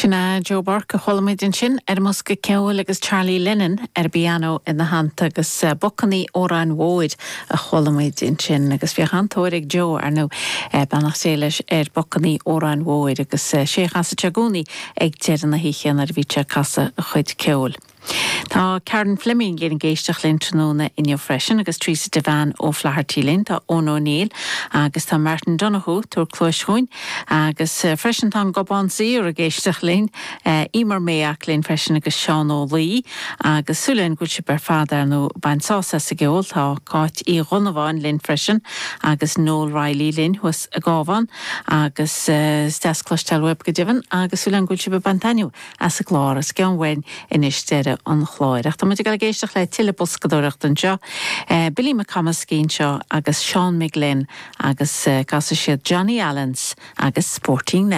Sin é Joe Burke a chuala muid ansin ar an mbosca ceoil agus Charlie Lennon ar an bpianó ina theannta agus Bacainní Óráin Mhóir a chuala muid ansin agus bhíodh an-tóir ag Joe, ar ndóigh, beannacht Dé leis, ar Bacainní Óráin Mhóir agus sé a chasadh sé i gcónaí ag deireadh na hoíche nuair a bhíodh sé ag casadh a chuid ceoil. Tá Karen Fleming linn ag éisteacht linn tráthnóna inniu freisin agus Teresa Devane O'Flaherty linn, tá Eoin O'Neill agus tá Martin Donohoe ag tabhairt cluais chugainn agus freisin tá an Gobán Saor ag éisteacht linn, Emer Mayock linn freisin agus Seán Ó Laoi agus súil againn go bhfuil sibh ar fad ar ndóigh ag baint sásamh as an gceol. Tá Cáit Uí Dhonnabháin linn freisin agus Noel Reilly linn thuas i gCábhán agus is deas cloisteáil uaibh go deimhin agus súil againn go bhfuil sibh ag baint taitneamh as an gclár. Is geall uainn anois deireadh an chláir. Ach tá muid ag dul ag éisteacht le tuilleadh boscadóireachta anseo. Billy McComiskey anseo agus Seán McGlynn agus casfaidh siad Johnny Allen's agus Sporting.